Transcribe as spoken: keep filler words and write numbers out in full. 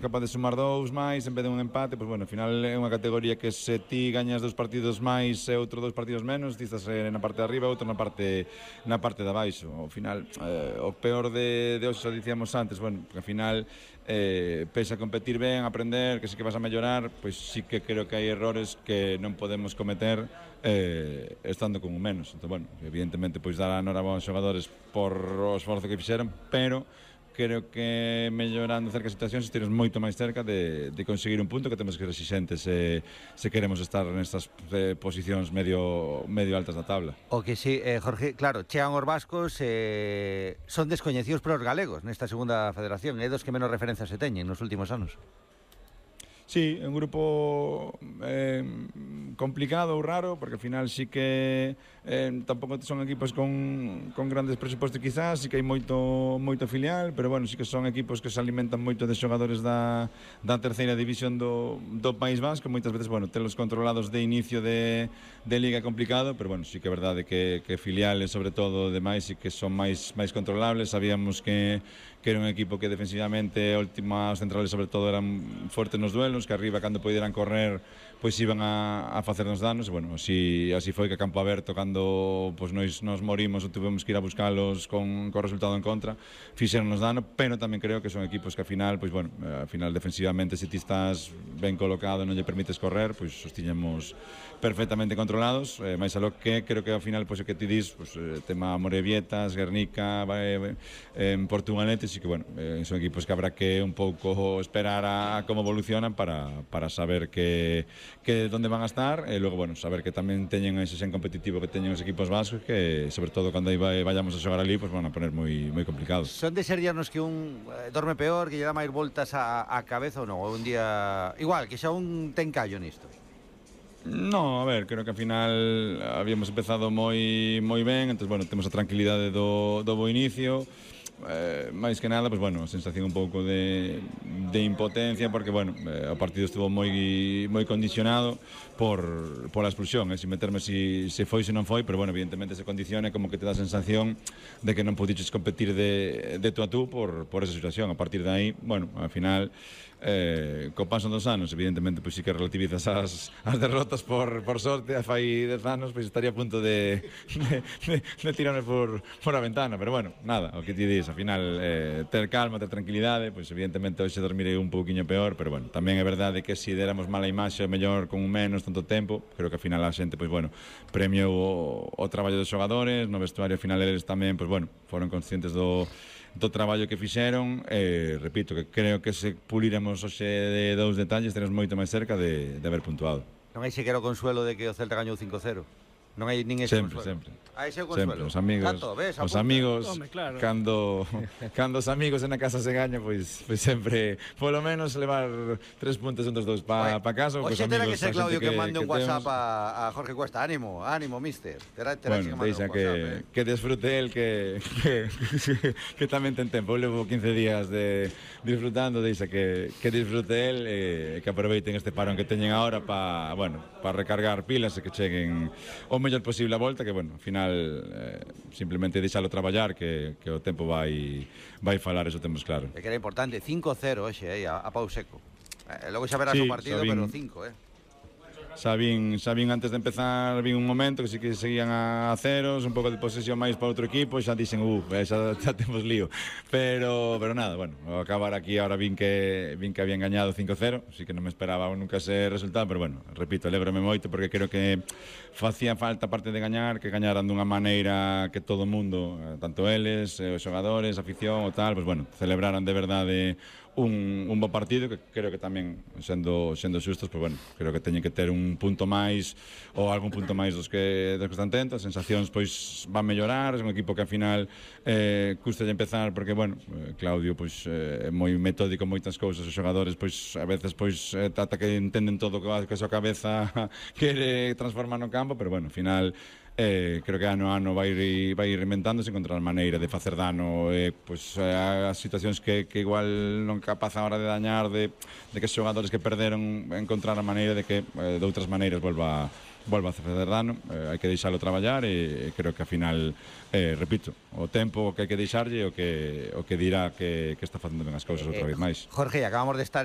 capaz de sumar dous máis en vez de un empate, pois bueno, ao final é unha categoría que se ti gañas dous partidos máis e outro dous partidos menos, ti estás na parte de arriba, outro na parte na parte de abaixo. Ao final, eh, o peor de, de hoxe, xa dicíamos antes, bueno, porque ao final eh, pese a competir ben, aprender, que sí que vas a mellorar, pois sí que creo que hai errores que non podemos cometer eh, estando con un menos. Entón, bueno, evidentemente, pois dar a enhorabuena aos xogadores por o esforzo que fixeron, pero creo que mellorando cercas situacións estiremos moito máis cerca de, de conseguir un punto que temos que ser exixentes se, se queremos estar nestas eh, posicións medio, medio altas da tabla. O que sí, eh, Jorge, claro, chegan os vascos, eh, son descoñecidos para os galegos nesta segunda federación, é dos que menos referencias se teñen nos últimos anos. Sí, un grupo eh, complicado ou raro, porque ao final sí que eh, tampouco son equipos con, con grandes presupostos quizás, sí que hai moito, moito filial, pero bueno, sí que son equipos que se alimentan moito de xogadores da, da terceira división do, do País Vasco, moitas veces, bueno, telos controlados de inicio de, de liga é complicado, pero bueno, sí que é verdade que, que filiales, sobre todo, demais, sí que son máis, máis controlables. Sabíamos que, que era un equipo que defensivamente, últimas centrales sobre todo, eran fortes nos duelos, que arriba cando poderan correr pois iban a, a facernos danos, e bueno, así, así foi que a campo aberto, cando pois nos, nos morimos ou tuvemos que ir a buscalos con, con resultado en contra, fixeronnos dano, pero tamén creo que son equipos que ao final, pois bueno, ao final defensivamente, se ti estás ben colocado e non lle permites correr, pois os tiñemos perfectamente controlados, eh, máis a lo que creo que ao final, pois o que ti dis, pois, eh, tema Morevietas, Guernica, eh, eh, Portugalete, sí que bueno, eh, son equipos que habrá que un pouco esperar a, a como evolucionan para, para saber que que donde van a estar, e logo, bueno, saber que tamén teñen ese xen competitivo que teñen os equipos vascos, que sobre todo cando aí vayamos a xogar ali, pues van a poner moi moi complicados. Son de ser dianos que un eh, dorme peor, que lle dá máis voltas a, a cabeza ou non, ou un día igual, que xa un ten callo nisto. No, a ver, creo que ao final habíamos empezado moi moi ben, entón, bueno, temos a tranquilidade do, do bo inicio. Eh, máis que nada, pues bueno, a sensación un pouco de, de impotencia, porque bueno, eh, o partido estuvo moi moi condicionado por, por a expulsión, eh, sin meterme si, se foi, se non foi, pero bueno, evidentemente se condiciona, como que te dá a sensación de que non pudiches competir de, de tú a tú por, por esa situación. A partir de aí, bueno, ao final eh, co paso dos anos, evidentemente, pois pues, sí que relativizas as, as derrotas por, por sorte. Fai dez anos, pois pues, estaría a punto de, de, de, de tirarme por, por a ventana, pero bueno, nada, o que ti dis, ao final eh, ter calma, ter tranquilidade, pois pues, evidentemente hoxe dormirei un pouquiño peor, pero bueno, tamén é verdade que se si deramos mala imaxe, mellor con un menos tanto tempo, creo que ao final a xente, pois pues, bueno, premiou o, o traballo dos xogadores, no vestuario ao final eles tamén, pois pues, bueno, foron conscientes do do traballo que fixeron, e repito que creo que se puliremos hoxe de dous detalles, teremos moito máis cerca de, de haber puntuado. Non hai sequera o consuelo de que o Celta gañou cinco cero. Non hai nin ese sempre, consuelo. Sempre, ah, ese é o consuelo. Sempre, os amigos, Tanto, ves, os amigos, Home, claro. cando, cando os amigos en a casa se gañan, pois, pois sempre, polo menos, levar tres puntos entre os dous pa, pa casa. Oxe, terá que ser Claudio que, que mande un que WhatsApp a, a Jorge Cuesta. Ánimo, ánimo, mister. Terá, terá bueno, que mandar un WhatsApp. Que, eh. que desfrute el, que, que, que, que tamén ten tempo. Eu levo quince días de disfrutando, deixa que, que disfrute el, e que aproveiten este parón que teñen agora para, bueno, para recargar pilas e que cheguen o mellor posible a volta, que, bueno, ao final eh, simplemente deixalo traballar, que, que o tempo vai vai falar, eso temos claro. É que era importante, cinco cero hoxe, eh, a, a pau seco. Eh, logo xa verás sí, o partido, Sabín, pero cinco, eh. Xa vin, xa vin antes de empezar, vin un momento que sí que seguían a ceros, un pouco de posesión máis para outro equipo, xa dixen, uh, xa, xa temos lío. Pero, pero nada, bueno, ao acabar aquí ahora vin que vin que habían gañado cinco cero, así que non me esperaba nunca ese resultado, pero bueno, repito, alégrome moito porque creo que facía falta, aparte de gañar, que gañaran dunha maneira que todo o mundo, tanto eles, os xogadores, a afición ou tal, pues bueno, celebraran de verdade un, un bo partido, que creo que tamén, sendo, sendo xustos, pues bueno, creo que teñen que ter un punto máis ou algún punto máis dos que, dos que están tentos. As sensacións pois van mellorar, é un equipo que ao final eh, custa de empezar, porque bueno, Claudio pois é eh, moi metódico en moitas cousas, os xogadores pois a veces pois eh, trata que entenden todo que a súa cabeza quere transformar no campo, pero bueno, ao final Eh, creo que ano a ano vai ir, vai ir reinventándose, encontrar maneira de facer dano, eh, pues, eh, as situacións que, que igual non capaz a hora de dañar, de, de que os xogadores que perderon encontrar a maneira de que eh, de outras maneiras volva volva a facer dano. Eh, hai que deixalo traballar, e creo que ao final, eh, repito, o tempo que hai que deixarlle o que, o que dirá que, que está facendo ben as cousas outra vez máis. Jorge, acabamos de estar